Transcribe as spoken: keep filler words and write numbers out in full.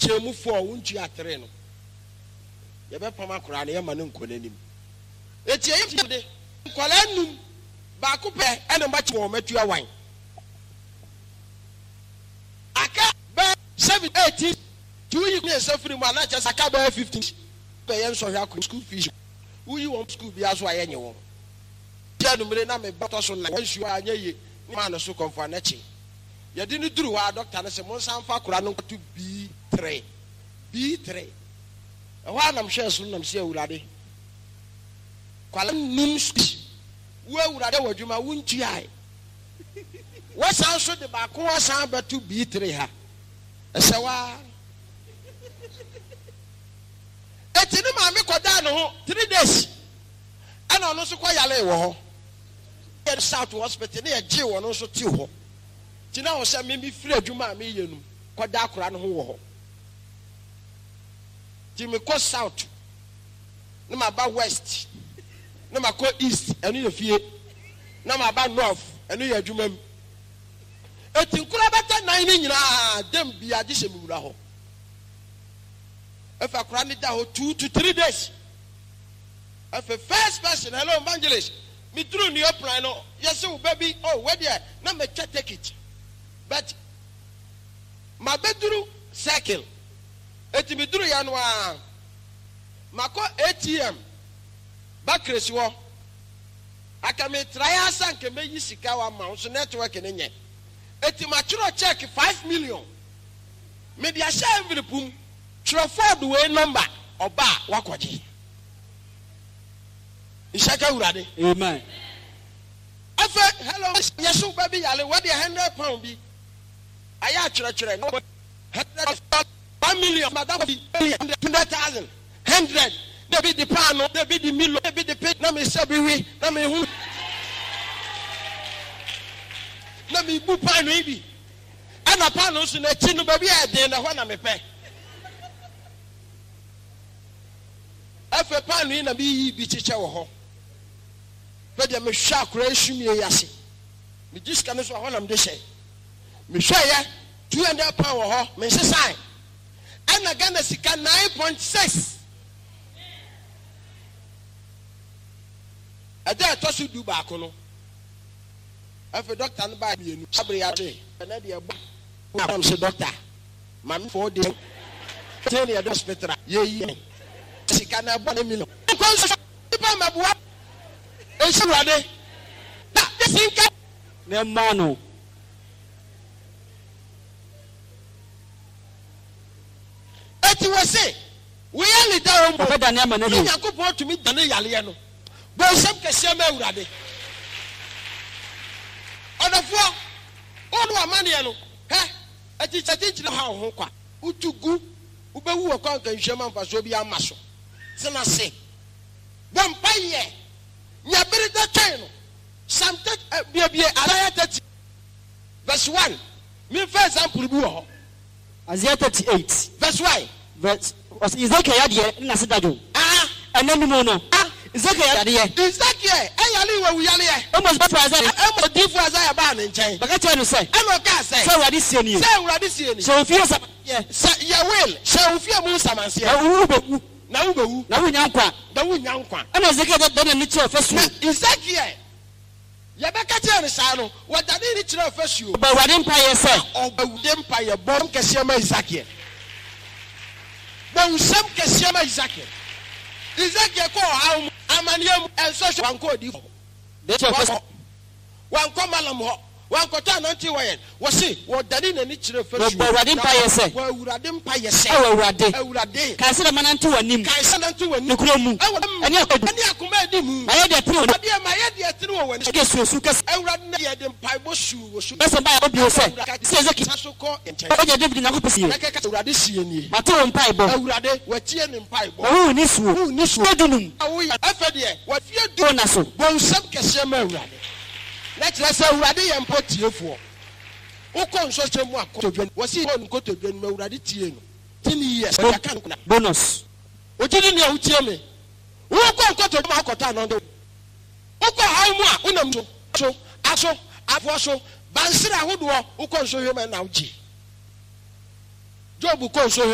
Wokyɛ mu four, wontua three no, yɛbɛpam akoraa no, yɛma no nkɔ n'anim. Eti ɛyɛ de nkwadaa num baako pɛ ɛna mba wɔn matua one. Aka bɛɛ seven eighteen two yi mmiɛnsa firi mu a, na kyerɛ sɛ aka bɛyɛ fifteen. Bɛyɛ nsɔhwɛ akɔ school fees, woyi wɔn school bi aso a, yɛnyɛ wɔn tia numere na meba tɔ so na nsuo a anyɛ yie ne maa no so kɔnfɔ anakyi. Yɛde no duru hɔ a, dɔkta no sɛ mo nsa nfa akora no nkɔto B three B three. Ɛhɔ a nam hwɛ so nam sɛ, "Awurade, kwala num school, wo Awurade wɔ adwuma wontuae, wɔsan so de baako asan bɛto B three ha." Ɛsɛ waa eti ne maame kɔdaa ne ho three days, ɛna ɔno nso kɔ yale wɔ hɔ. Yɛ South Hospital ne yɛgye wɔn nso te hɔ ti na wɔ sɛ mimi firi adwuma a meyɛ no kɔda akora no ho wɔ hɔ. Ti mekɔ South ne ma ba West ne ma kɔ East, ɛno yɛ fie, na ma ba North, ɛno yɛ adwuma mu. Eti nkura bɛtɛ nan ne nyinaa dem bia gye sɛ mewura hɔ. Efa akora ne da hɔ two to three days. Efe first person, "Hello, evangelist." Mi duru New Plan no, yɛsɛ wo ba bi. Oh, wɛdeɛ na mɛtwa ticket, but ma bɛduru Circle. Eti mi duru ya no a, makɔ A T M bakiresi hɔ aka mi tra ya asa nke meyi sika wa ma nso network ne nyɛ. Eti ma twerɛ check five million mede ahyɛ envelope mu, twerɛ Ford wei number, ɔba a wakɔgye nhyɛka Awurade. Amen. Afei, "Hello," yɛsɛ wo ba bi yale, wɔde hundred pound bi ayɛ atwerɛtwerɛ hundred one million madam bi hundred thousand hundred na ebi di paano, na ebi di milo, na ebi di pe, na mi sɛ bi wi na mi hu na mi bu paano yi bi, ɛna paano nso n'akyi no baabi a ɛden na ɛhɔ na mi pɛ. Afei paano yi na mi yi bi kyekyɛ wɔ hɔ fɛ deɛ mehwɛ akora yi sumie yi ase, megye sika no so ɛhɔ na mede hyɛ. Mehwɛ yɛ two hundred pound wɔ hɔ, mensesan, ɛna Ghana sika nine point six. Ɛda ɛtɔ so du baako no, afei dɔkta no baa mmienu abere ate ɛnɛ deɛ ɛbɔ nam sɛ, "Dɔkta, maame four days ten ne yɛde hospital a yɛyi sika na ɛbɔ ne million nkɔ nso nipa mɛboa esi Awurade na yɛsi nka." Na ɛmaa no. Eti wɔ se woyɛ leda wɔn mu. Ɔbɛdane ama no ne ahu. Nyankopɔn tumi dane yaleɛ no. Bɔ nsɛm kɛseɛ ma Awurade. Ɔdɔfoɔ, wɔn amanneɛ no hɛ akyikyɛ ha wo ho kwa, wotu gu, wobɛwu wɔ kwan nkanhwɛ ma mfasoɔ bi ama so. Tena se bɔ mpayɛ nya bere da twɛn no. Psalm thirty, biebie Isaiah thirty verse one, memfa example bi wɔ hɔ. Isaiah thirty-eight. Verse one. Verse ɔsɛ Ezekiel yadeɛ ne n'ase dadwo. Ah. Ɛnɛ no mu no. Ah. Ezekiel yadeɛ. Ezekiel ɛyale wɔ wuyaleɛ. Amos bɛfra Isaiah. Ɛma odiifo Isaiah baa ne nkyɛn. Bɛka kyerɛ no sɛ. Ɛna ɔkaa sɛ. Sɛ Awurade sie nie. Sɛ Awurade sie ni. Hyɛ wo fie nsamanseɛ. Sɛ yɛ will, hyɛ wo fie mu nsamanseɛ. Na wo bɛwu. Na wobɛwu. Na wonya nkwa. Na wonya nkwa. Ɛna Ezekiel dɛ n'ani kyerɛ ɔfasuo. Na Ezekiel yɛbɛka kyerɛ no saa no, wɔdane ne kyerɛ ɔfasuo. Ɔbɔ Awurade mpaeɛ sɛ. Ɔbɔ Awurade mpaeɛ. Bɔ kɛseɛ ma Ezekiel, bɔ nsɛm kɛseɛ ma Ezekiel. Ezekiel kɔ ɔhaw mu, amanneɛ mu, ɛnsɔhwɛ, wankɔ odiifo hɔ. Dɛ kyerɛ ɔfasuo. Wankɔ malam hɔ, wankɔtɔ anante wɔ yɛn. Wɔse wɔdane n'ani kyerɛ fasuo. Wɔbɔ Awurade mpaeɛ sɛ. Wɔ Awurade mpaeɛ sɛ. Ɛwɔ Awurade. Awurade. Kae sɛ dɛ manante w'anim. Kae sɛ nante w'anim. Nokorɛ mu. Ɛwɔ ɛne akɔdu. Ɛne akoma adi mu. Mayɛ deɛ tene wɔ adeɛ mayɛ deɛ tene wɔ w'ani. Ɛdeɛ suosu kɛse. Awurade na yɛde mpaebɔ suu wɔ so. Bɛsɛ baa bio sɛ. Sɛ Ezekiel. Sa so kɔ nkyɛn. Ɔgya David Nyankopɔn sie. Na kɛkɛ Awurade sie nie. Mate wo mpaebɔ. Awurade watie ne mpaebɔ. Na wo ni suo. Wo ni suo. Dunum. Woyɛ afɛ deɛ wafie du. Wo na so. Bɔ nsɛm kɛseɛ ma Awurade na kyerɛ sɛ Awurade yɛ mpo tiefoɔ. Wokɔ nsɔhyɛ mu akɔtodwa, wɔsi kɔ nkotodwa no mu, Awurade tie no. Ten years wɔde aka no. Bonus. Ogye di nea wotie me. Wokɔ nkotodwa mu akɔtɔ anɔnde, wokɔ haw mu a wonam so so aso afoɔ so bansere ahodoɔ, wokɔ nsɔhwɛ mu ɛna wogye. Job kɔ nsɔhwɛ.